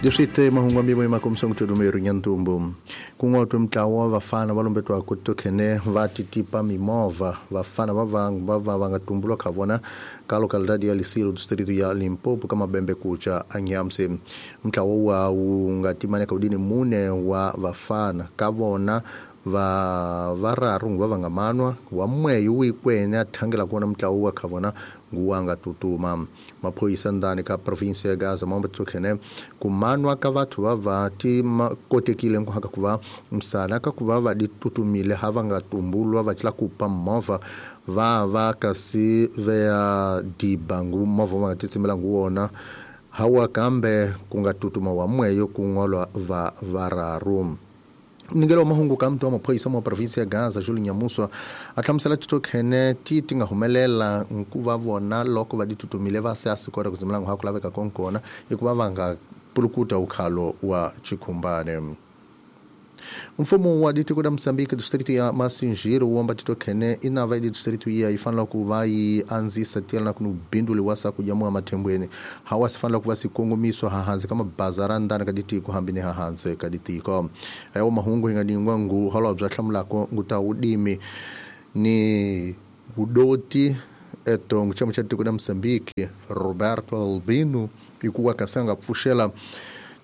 Leswi mahungu ambimo emakomisongo tudumeri nyantumbu kun'watwe mntlawa wa vafana va lombetwa ku tokhene va titipa mimovha vafana va va nga tumbulwa kha vona ka localidade ya Lisilo distrito ya Limpopo ka mabembe kucha anyamse mntlawa wa wu nga timaneka udini mune wa vafana ka vona va vararu va nga manwa wa mweyo wikwene a thangela kona mntlawa wa kha vona nguwanga tutuma maphoyisa ndani ka province ya Gaza mambo tokhene kumanwa ka vathu va va ti kotekile nkuhaka kuva msana ka kuva va ditutumile hava nga tumbulwa va tla kupa movha va va kasi vea dibangu movha va nga titsimela nguwona hawa kambe kunga tutuma wa mweyo kungolwa va vararu. Mningelo wa mahungu ka mtu wa maphoyisa mwa provinsi ya Gaza Julie Nyamuswa a hlamusela titokhene ti ti nga humelela nkuva vona loko va ditutumile va se a sikora kuzimela ha ku laveka konkona hikuva va nga pulukuta ukhalo wa chikhumbane. Mfumo wa ditiko da Moçambique distrito ya Massingir womba titokhene inava idi distrito iya ifanela ku va yi anzisa tiyelana ku binduli wa sakudya mwa mathembweni hawa sifanela ku va sikongomiswa hahansi ka mabazara ndani ka ditiko hambi ni hahansi ka ditiko ayo mahungu hi nga ningwa ngu holobya hlamulako ngu ta udimi ni udoti etongo chama cha ditiko da Moçambique Roberto Albino ikuwa kasanga pfuxela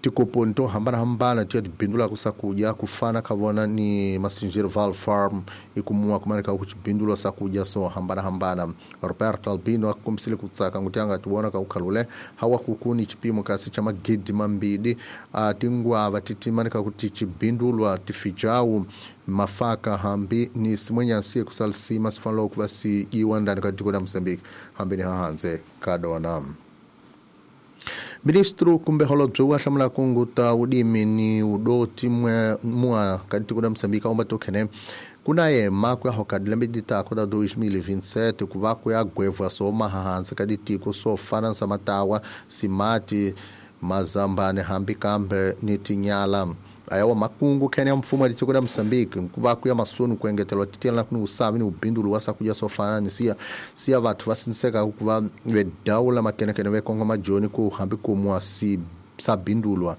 tikoponi to hambanahambana ti tibindula ku sakudya kufana ka vona ni Massingir Val Farm ikumuwa kumaneka ku tibindulwa sakudya so hambanahambana. Roberto Albino a kombisile ku tsaka nguti a nga ti vona ka ku khalule hawa kukuni chipimo kasi cha magidi mambili a tingwava ti timaneka ku ti tibindulwa tifijawu mafaka hambi ni simwenyansi kusalisima sifanela ku va si iwa ndani ka tiko la Mozambique hambi ni hahanze ka dona. Ministro kumbe holobye wa hlamula kunguta udimi ni udoti mwa ka tiko la Mozambique omba tokhene kuna yema ku ya hoka dilembe ditako da 2027 ku va ku ya gwevwa so mahansi ka ditiko so fana sa matawa simati mazambane hambi kambe ni tinyala ayawa makungu khene ya mfumo wa ditiko la Mozambique nkuva ku ya masoni ku engetelwa titela ku ni usavi ni ubindulu wa sakudya so fana ni siya vathu va siniseka ku va vedawula makenekene ve kongo majoni ku hambi kumwa si sabindulwa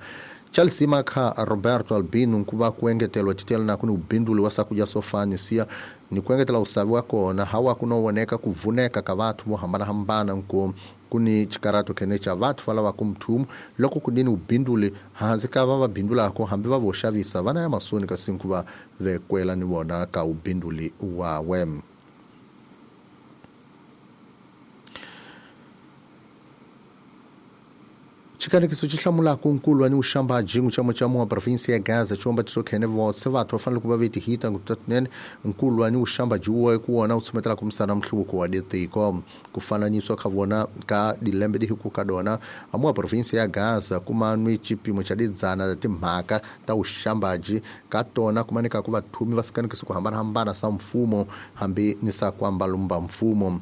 Chelsea makha Roberto Albino nkuva ku engetelwa titela na ku ni ubindulu wa sakudya so fana ni siya ni ku engetela usavi wa kona hawa ku no voneka ku vuneka ka vathu vo hambanahambana nku kuni chikarato khene cha vathu va lava ku mthumu loko kudini ubindule hansi ka va va bindulako hambi va vo xavisa vana ya masoni kasi nkuva vekwela ni vona ka ubinduli wawe. Xikanekiso xi hlamulaka nkulwa ni uxambaji ngu cha wa provinsi ya Gaza chomba titokhene vose vathu va fanele ku va ve tihita ngutatinene nkulwa ni uxambaji wo ku wona wu tshumetela ku misana mhluvuko wa ditiko ku fananiswa kha vona ka dilembe di hiku ka dona amuwa provinsi ya Gaza kumanwi chipimo cha didzana ta timhaka ta uxambaji ka tona kumaneka ku vathumi va sikanekiso ku hambanahambana sa mfumo hambi ni sa kwambalumba mfumo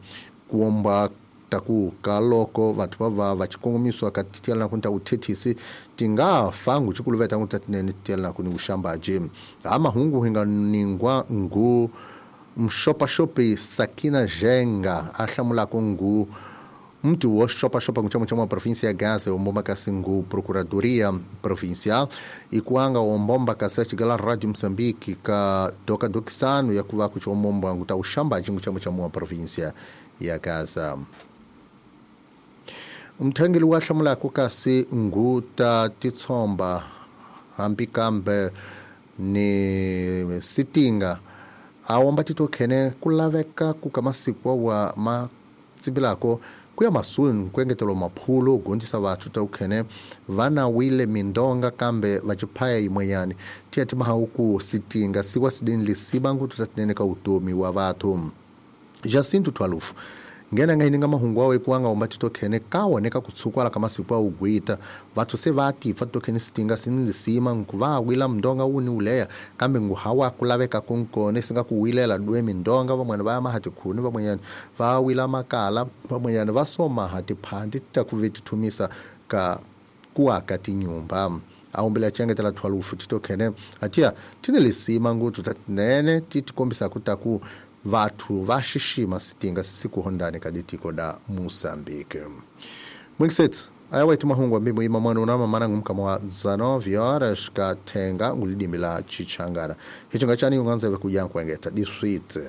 kuomba taku kaloko vathu va va chikongomiswa ka tiyelana ku ta uthethisi tinga fangu chikuluveta ku tatinene tiyelana ku ni uxambaji ha mahungu hi nga ningwa ngu mxopaxopi Sakina Jenga a hlamulaka ngu mtu wo xopaxopa ku chama chama província ya Gaza ombomba kasi ngu procuradoria provincial ikuanga ombomba kasi chigala Radio Mozambique ka doka dokisano ya kuva ku chomomba ngu ta uxambaji ngu chama chama província ya Gaza. Umthangeli wa hlamulaka kasi nguta titshomba hambi kambe ni sitinga awomba titokhene ku laveka ku ka masiku wa matsibilako ku ya masuni ku engetela maphulo gondisa vathu ta ukhene vana wile mindonga kambe va chiphaya yimwenyani tiya timahawu ku sitinga siwa sidini lisiba ngutu tatinene ka utomi wa vathu. Jacinto Twalufu ngena nga hininga mahungu awe kuanga omba titokhene kawoneka kutsukwala ka masiku a ugwita vathu se va tipfa titokhene sitinga sinlisima nkuva wila mndonga wuni uleya kambe nguhawa kulaveka kunkone singa kuwilela dwe mindonga vamwene va ya maha tikhuni vamwenyani va wila makala vamwenyani va somaha tiphandi ta ku ve tithumisa ka kuaka tinyumba aombela chengetela Twalufu titokhene atiya tine lisima nguthu tatinene ti tikombisa ku ta ku vathu va xixima sitinga sisikuhondani ka ditiko da Moçambique. Mwingisetsi Aya waitu mahungu ambimbo ima mwana unama manangu mkama wa 19 horas kathenga ngulidimi la chichangana. Hichinga chani unganzeve kujankwengeta diswite.